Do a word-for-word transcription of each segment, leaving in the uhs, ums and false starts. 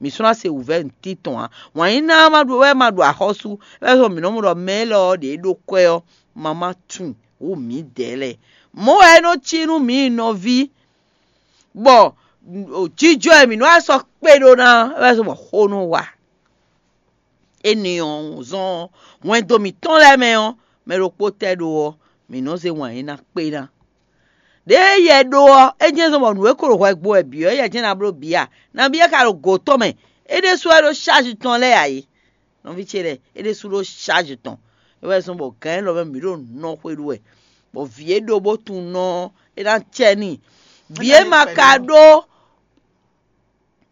Mǐ sɔ́ ná se wǔvɛ́ nǔtítɔn ǎ. Wǎn yí ná má ɖu wɛ má ɖu axɔ́sú, é wɛ zɔ́n mǐ nɔ́ mɔ ɖɔ mɛ élɔ́ ɔ́ ɖě ɖó kwɛ́ ɔ́, ma má tunwun wǔ mǐdɛɛ lɛ́ɛ. Mɔ̌ wɛ é nɔ cí nú mǐ nɔví, bɔ jijɔ e mǐ nɔ́ wá sɔ́ kpé ɖó ná é wɛ zɔ́n bɔ xó nɔ wa. Énɛ́ ɔ́ zɔ́n hwɛndo mǐtɔn lɛ́ɛ mɛ ɔ́, mɛ ɖokpó tɛ́ ɖó ɔ́, mǐ nɔ́ zé wǎn yí ná kpé ná. Ɖěe yɛ ɖó ɔ́, é jɛ́n zɔ́n bɔ nǔ e ko ɖo hwɛ gbo wɛ bǐ ɔ́, yɛ jɛ́n ná bló bǐ a? Nabí é ka ɖo gǒ tɔn mɛ? É ɖésú wɛ ɖó sázi tɔn lɛ́ɛ ǎ é. Nɔví ce lɛ́ɛ, é ɖésú ɖó sázi tɔn. É wɛ zɔ́n bɔ gǎn élɔ́ mɛ mǐ ɖo nɔ xwe ɖu wɛ, bɔ vǐ e ɖó bó tunwun nɔ ɔ́, é ná cɛ n'i. Vǐ e ma ka ɖó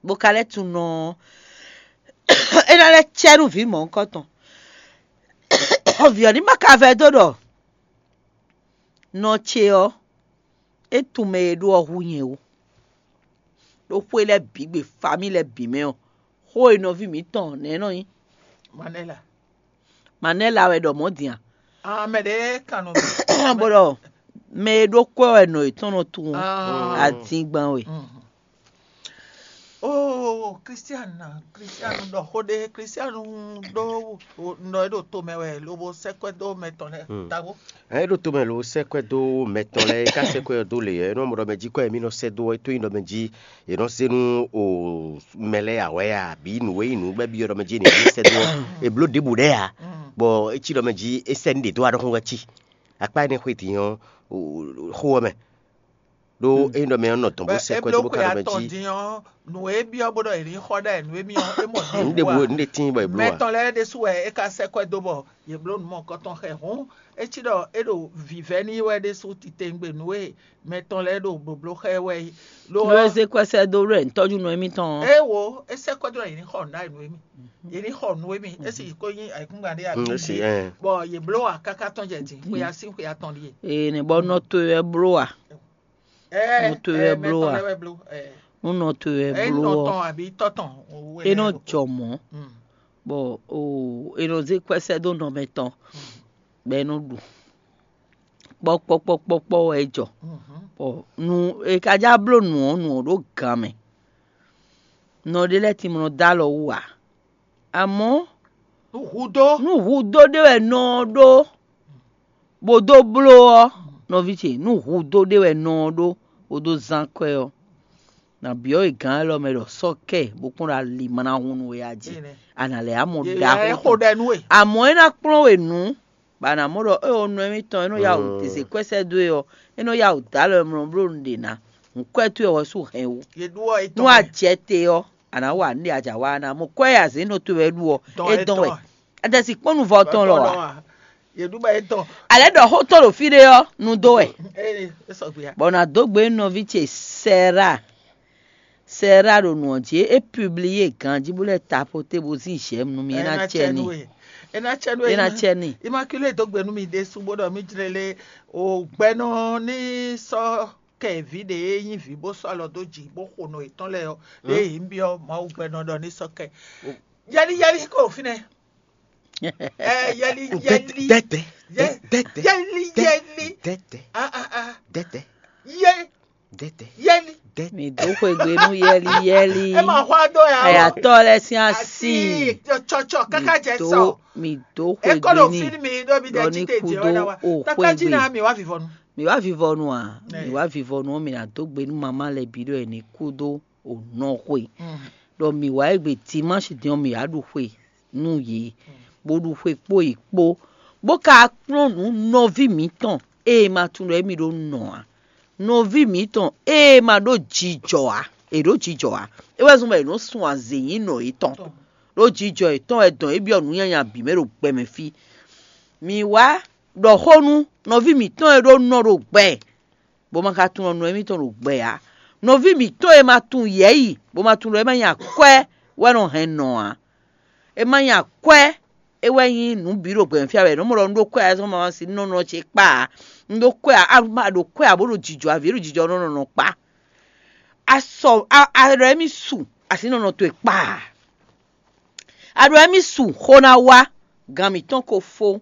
bó ka lɛ́ tunwun nɔ ɔ́, é ná lɛ́ cɛ nú vǐ mɔ̌hunkɔtɔn. Vǐ ɔ́ ní ma ka vɛdó ɖɔ nɔ ce ɔ́, é tunwun mɛ e ɖó ɔ́ hú nyɛ ó. Ɖó xwé lɛ́ɛ bǐ gbe, famí lɛ́ɛ bǐ mɛ ɔ́, xó e nɔví mǐtɔn nɛ̌ nɔ nyí? Manɛla. Manɛla wɛ ɖɔ mɔ̌ din a? Ah, mɛ ɖě kan nɔ bó ɖɔ mɛ e ɖó kwɛ́ wɛ nɔ yětɔn nɔ tunwun Ah. Adingban we. Mhm. Oh, Christian, Christian ɖɔ xó ɖé, Christian ɖó nɔ e ɖo to mɛ wɛ, lobo sɛ́ kwɛ́ dó mɛ tɔn lɛ́ɛ Hmm. tago. Ɛ ɖo to mɛ lo sɛ́ kwɛ́ dó mɛ tɔn lɛ́ɛ, é ka sɛ́ kwɛ́ ɔ́ dó lě ɔ́, é nɔ mɔ ɖɔ mɛ jí kwɛ́ e mì nɔ sɛ́ dó ɔ́, é tó nyí ɖɔ mɛ jí è nɔ zé nú o mɛ lɛ́ɛ ǎ wɛ a, bǐ nǔ e nyí nǔ bɔ é byɔ́ ɖɔ mɛ jí è nǐ zé sɛ́ dó ɔ́, è blǒ ɖěbǔ ɖɛ́ ǎ, bɔ é cí ɖɔ mɛ jí é sɛ́ nú ɖě dó wá ɖɔhun wɛ cí. Akpá énɛ́ xwé din ɔ́, o- o- xó ɔ́ mɛ ɖó é nyí ɖɔ mɛ ɔ́ nɔ dɔn bó sɛ́ kwɛ́ dó bó ka ɖɔ mɛ jí. Din ɔ́, nǔ e byɔ́ bó ɖɔ è nǐ xɔ ɖɛ nǔ e mì ɔ́, é mɔ Nǔɖé bu nǔɖé tín bɔ è bló ǎ. Mɛtɔn lɛ́ɛ ɖésú wɛ é ka sɛ́ kwɛ́ dó bɔ yě bló nǔ mɔ̌hunkɔtɔn xɛ hǔn, é cí ɖɔ é ɖo vǐvɛ́ n'i wɛ ɖésú titewungbe nǔ e mɛtɔn lɛ́ɛ ɖo blǒbló xá ɛ wɛ é. Lo Nú é ɔ́, zé kwɛ́ sɛ́ dó ɖɔ è nǐ tɔ́jú nɔ émítɔn ɔ́, é wo é sɛ́ kwɛ́ dó ɖɔ yě ní xɔ nǔ ɖ'ayǐ nú émí. Yě ní xɔ nǔ émí. É sì ko nyí ayǐkúngban ɖé Mm, é sì, abǐ ɛ. Bɔ yě bló ǎ káká tɔ́n jɛ din, xwe asín xwe atɔn ɖíe. Ee, nɛ bɔ nɔ towe wɛ bló a? Ɛ Nɔ towe wɛ ɛ, bló mɛtɔn a? Lɛ́ɛ wɛ bló. Ɛ Nú nɔ towe wɛ ɛ bló nɔ ɔ́, tɔn abǐ tɔ́ tɔn. É nɔ jɔ mɔ̌, bɔ o è nɔ zé kwɛ́ sɛ́ dó nɔ mɛtɔn, bɔ é nɔ ɖu. Kpɔ́kpɔ́kpɔ́kpɔ́ wɛ é jɔ. Bɔ nu è ka já bló nǔ ɔ́, nǔ ɔ́ ɖó gan mɛ. Nɔ ɖé lɛ́ɛ timlɔ dó alɔ wú ǎ. Amɔ̌, Nú hudó. Nú hudó ɖé wɛ nɔ ɔ́ ɖó, bó dó bló ɔ́, nɔví ce, nú hudó ɖé wɛ nɔ ɔ́ ɖó, bó dó zán kwɛ́ ɔ́, nǎ byɔ́ we gǎn élɔ́ mɛ ɖɔ sɔ́ kɛ bó kpɔ́n ɖo ali ma ná hun nú we a jí. Ene. A nǎ lɛ́ amɔ Yě ɖaxó. Yě xo ɖɛ nú we. Amɔ̌ é ná kplɔ́n we nǔ, bɔ a nǎ mɔ ɖɔ éyɔ nɔ émítɔn e nɔ yá wǔ zě kwɛ́ sɛ́ dó e ɔ́, é nɔ yá wǔ dó alɔ e mlɔ bló nǔɖé ná. Nǔkwɛ́ towe wɛ sú hɛn wú. Yě ɖu ɔ́ Nú etɔn. A jɛ te ɔ́, a nǎ wa nǔɖé a jǎ wa ná mɔ kwɛ́ e azě nɔ towe wɛ ɖu ɔ́, Dɔn é dɔn wɛ. Etɔn a? A tɛ si kpɔ́n nuvɔ tɔn lɔ a? Yě ɖu bɔ etɔn. Alɛ ɖɔ xó tɔn ɖo fí ɖé ɔ́, nu dó wɛ. Ee, é sɔgbe a? Bɔ nǎ dó gbe nɔví ce Sɛra. Sɛra ɖo nǔ ɔ́ jí, é publié ganjí bó lɛ́ tapoté bó zín j'aime nú mì, é ná cɛ n'i. É ná cɛ nú É ná cɛ n'i. Immaculée dó gbe nú mi ɖésú bó ɖɔ mí jlé lé o gbɛnɔ ní sɔ́ kɛ vǐ ɖě e nyí vǐ bó sɔ́ alɔ dó jǐ bó xo nɔ yětɔn lɛ́ɛ ɔ́, ɖě yě ń byɔ́ Mawu gbɛnɔ ɖɔ ní sɔ́ kɛ. Yɛli yɛli kó o fínɛ́. Ɛ yɛli yɛli. Dɛtɛ. Yɛ- Dɛtɛ. Yɛli yɛli. Dɛtɛ. A a a. Dɛtɛ. Yɛ Dɛtɛ. Yɛli. Dɛtɛ. Mi dó xwegbe nú yɛli yɛli. Ɛ ma xɔ adó ya. Ayatɔ lɛ sín asi. Asi tsɔtsɔ kaka jɛ sɔ. Mi dó E kɔ ɖo xwegbe n'i. Fín mi ɖo mi ɖɔ ɖe ní tite kú jɛ dó wɛ na wa. O Tata jí xwegbe. Na mi wá vivɔnu. Mi wá vivɔnu a? Ɛ. Mi wá vivɔnu ɔ́, mi ná dó gbe nú mamá lɛ bǐ ɖɔ è ní kú dó o nɔ xwe. Mm. Ɖɔ mi wá egbe dimanche din ɔ́, mi wá ɖu xwe nú yě, bó ɖu xwe kpó yě kpó, bó ka kplɔ́n nǔ nɔví mǐtɔn e ma tunwun ɖɔ émí ɖó nɔ ǎ. Nɔví mǐtɔn e ma ɖó jijɔ ǎ, è ɖǒ jijɔ ǎ. É wɛ zɔ́n bɔ è nɔ́ sun azě nyi nɔ yětɔn. Ɖó jijɔ yětɔn wɛ dɔn é byɔ́ nǔ nyanya bǐ mɛ ɖo gbɛmɛ fí. Mi wá ɖɔ xó nú nɔví mǐtɔn e ɖó nɔ ɖo gbɛ, bó ma ka tunwun nɔ émítɔn ɖo gbɛ ǎ. Nɔví mǐtɔn e ma tunwun yɛ̌yi, bó ma tunwun ɖɔ é ma nyí akwɛ́ wɛ nɔ hɛn nɔ ǎ. É ma nyí akwɛ́ é wɛ nyí nǔ bǐ ɖo gbɛmɛ fí ǎ wɛ. Nɔ́ mɔ ɖɔ un ɖó kwɛ́ ǎ, zɔ́n ma si nɔ nɔ ce kpa ǎ. Un ɖó kwɛ́ ǎ, a ma ɖo kwɛ́ ǎ bó ɖo jijɔ ǎ, vǐ ɖo jijɔ nɔ nɔ nɔ kpa. A sɔ a a ɖɔ émí su, a si nɔ nɔ towe kpa ǎ. A ɖɔ émí su xó ná wá, gan mǐtɔn ko fó,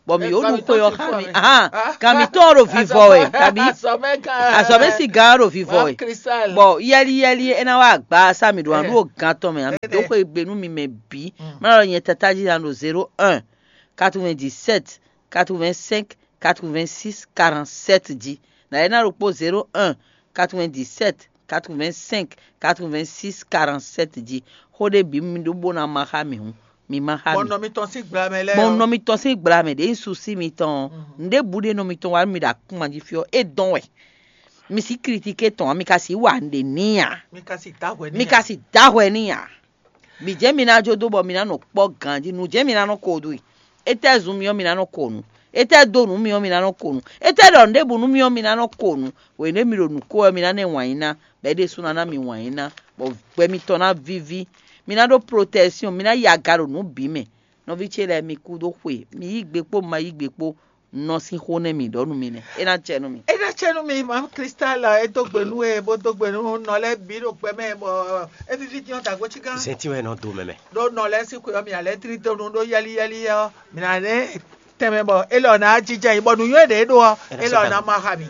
Bɔ mǐ yǒ ɖu xwe ɔ́ xá mi. Ahan, gan mǐtɔn ɔ́ ɖo vivɔ wɛ, kabi azɔ̌mɛ sigan ɔ́ ɖo vivɔ wɛ. Bɔ yɛliyɛli e ná wá agba sá mǐ ɖo aɖu o gan tɔn mɛ, a mǐ dó xwe gbe nú mi mɛ bǐ. Má ɖɔ nyɛ tata jí ná ɖo zéro un, quatre-vingt-dix-sept, quatre-vingt-cinq, quatre-vingt-six, quarante-sept jí. Nǎ é ná ɖokpó zéro un, quatre-vingt-dix-sept, quatre-vingt-cinq, quatre-vingt-six, quarante-sept jí. Xó ɖé bǐ mi ɖó bó ná má xá mǐ hǔn, mi má xá mǐ. Gbɔn nɔ mitɔn sín gbla mɛ lɛ́ɛ. Gbɔn nɔ mitɔn sín gbla mɛ ɖě nyí susi mitɔn ɔ́. Nǔɖé bǔ ɖé nɔ mitɔn wa nú mi ɖo akúnma jí fí ɔ́, é dɔn wɛ. Mi sí kritike tɔn ǎ, mi ka sí wa nǔɖé n'i ǎ. Mi ka sí dá hwɛ n'i ǎ. Mi ka sí dá hwɛ n'i ǎ. Bǐ jɛ́n mi ná jó dó bɔ mi ná nɔ kpɔ́ ganjí, nǔ jɛ́n mi ná nɔ ko ɖu i. Étɛ́ zun mi ɔ́, mi ná nɔ ko nǔ? Étɛ́ dó nǔ mi ɔ́, mi ná nɔ ko nǔ? Étɛ́ ɖɔ nǔɖěbǔ nú mi ɔ́, mi ná nɔ ko nǔ? Hwenɛ́ mi ɖo nǔ ko wɛ, mi ná nɔ wǎn yí ná, bɔ é ɖésú ná ná mi wǎn yí ná, bɔ gbɛ mitɔn ná víví. Mi ná ɖó protɛ́syɔn, mi ná yi aga ɖo nǔ bǐ mɛ. Nɔví ce lɛ́ɛ, mi kú dó xwe, mi yí gbe kpó, ma yí gbe kpó, nɔ sín xó nɛ́ mǐ ɖɔ nú mi nɛ́. É ná cɛ nú mi. É ná cɛ nú mi, Mawu Klísta lɔ é dó gbe nú we, bó dó gbe nú nɔ lɛ́ɛ bǐ ɖo gbɛ mɛ, bɔ é víví dín ɔ́ dǎgbó cí gán. Zɛntín wɛ nɔ dó mɛ mɛ. Ɖó nɔ lɛ́ɛ sín xwe ɔ́, mi ná lɛ́ tlí tónú ɖó yɛ́lí yɛ́lí ɔ́, mi ná lɛ́ tɛnmɛ bɔ é lɔ ná jijɛ yi, bɔ nǔnywɛ́ ɖě é ɖó ɔ́, é lɔ ná ma xa mi.